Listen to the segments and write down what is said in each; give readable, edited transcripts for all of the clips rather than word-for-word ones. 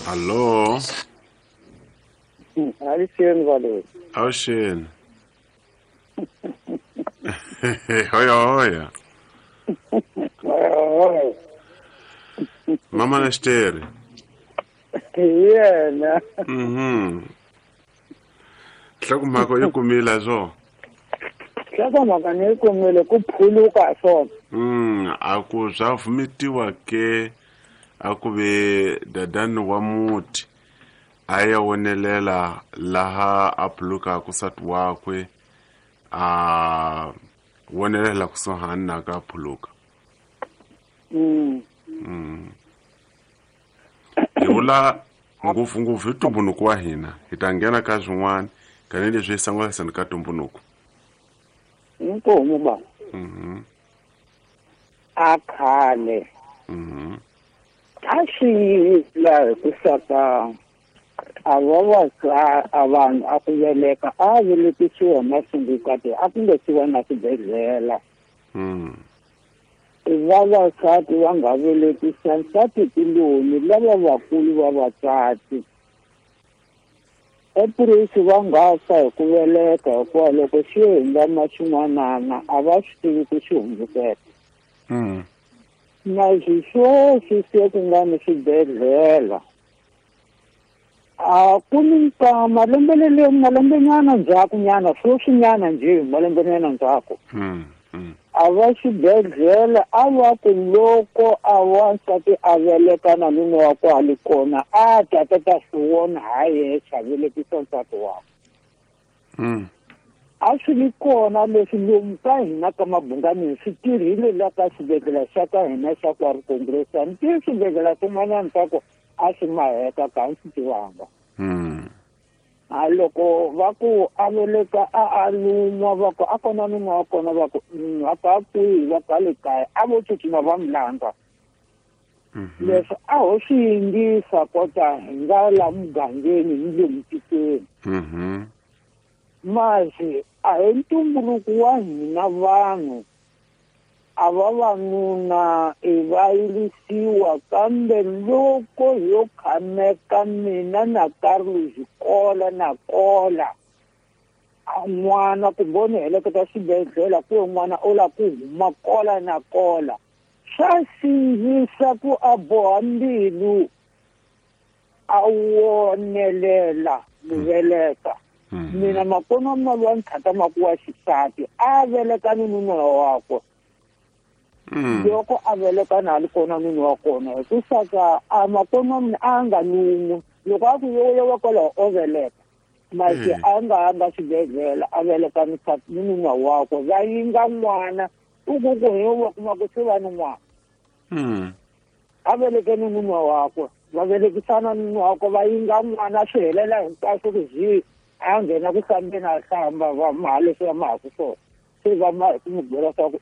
Hallo. Avuxeni valoyi. Avuxeni. Hoya hoya. Hoya. Mama na xitere. Hi yena. Nhlokomhaka yi kumile swo. Nhlokomhaka ni yi kumile ku phuluka swona. A ku swa vumetiwa ke a ku ve dadani wa muti a ya wonelela laha a phulukaka nsati wakwe a wonelela kusuhani na ka phuluka. Hi vula ngopfungopfu hi ntumbuluko wa hina hi ta nghena ka swin'wana tanihileswi hi sangulasani ka ntumbuluko. Inkomu ba. A khale. A swi la hi ku saka a va va vanhu a ku veleka a velekisiwa masungukati a ku nga siwa na swibedhlele. Vavasati va nga velekisa nsati kuloni lava vakulu va vatswati. Epurisi va nga fa hi ku veleka hikuva loko xi hindza xin'wanana a va swi tivi ku xi hundzukela. Na sweswi se ku nga ni swibedhlele a ku ni nkama malembenyana ndzhakunyana sweswinyana njhe malembenyana ndzhaku. A va xibedhlele a va ku loko a wansati a veleka na nuna wa ku a li kona a ta ta ta swi vona ha yexe a velekisa nsati wakwe. A swi li kona leswi lomu ka hina ka Mabunganini swi tirhile la ka xibedhlele xa ka hina xa kwa Congress. A ni tivi swibedhlele swin'wanyana swa ku a swi maheka ka a swi tivanga. A loko va ku a veleka a lun'wa va ku a kona nuna wa kona va ku a ka kwihi va ka le kaya a vo tsutsuma va mi landza. Leswi a ho swi yingisa kota hi nga la mugangeni ni le mutikweni. Masi a hi ntumbuluko wa hina vanhu a vavanuna i va yirisiwa kambe loko yo khameka mina na Carlos kola na kola a n'wana kumbe ni heleketa xibedhlele ku n'wana o la ku huma kola na kola swa sindzisa ku a boha mbilu a wonelela muveleka. Mina makona ma lwa nthata makuwa xisati a veleka ni nuna wakwe. Loko a veleka na li kona nuna wa kona hi ku saka a makona mina a nga lun'wi loko a ku yo wa kwalaho o veleka masi a nga nga xibedhlele a veleka ni nuna wakwe va yinga n'wana u ku ku hi wa kuma ku se va ni n'wana. A veleke ni nuna wakwe va velekisana ni nuna wakwe va yinga n'wana swi helela hinkwaswo ku zi a nghena ku hlambeni a hlamba va maha leswi va mahaku swona. Se va ma hi ku n'wi byela swa ku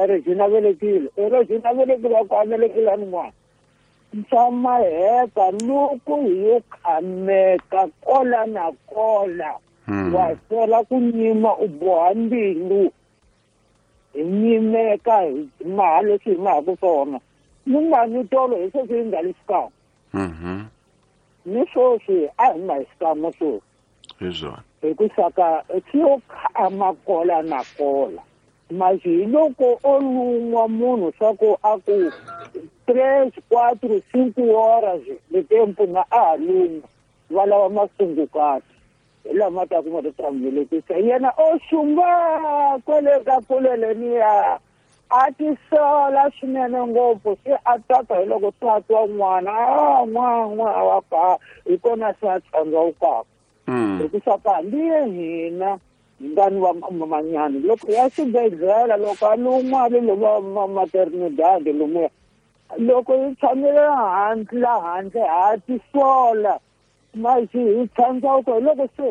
Regina velekile Regina velekile ku a velekile ni n'wana. Swa maheka loko hi yo khameka kola na kola wa sela ku nyima u boha mbilu hi nyimeka hi maha leswi hi mahaku swona. Ni nga ni tolo hi sweswi hi nga li xikan'we. Ni sweswi a hi ma hi xikan'we sweswi. Hi swona. Hi ku saka swi yo khama kola na kola. Masi hi loko o lun'wa munhu swa ku a ku 3, 4, 5 horas de tempo na a lun'wa va lava masungukati hi lama ta kuma ta velekisa yena o xumba kwale ka kulele niya a tisola swinene ngopfu se a tsaka hi loko se a twa n'wana a n'wana wa ka hi kona se a tshandzawukaka. Hi ku saka hambi hina hi nga ni va mamanyana loko ya xibedhlele loko a lun'wa le va maternidade lomuya loko hi tshamile handle la handle ha tisola masi hi tshandzawuka hi loko se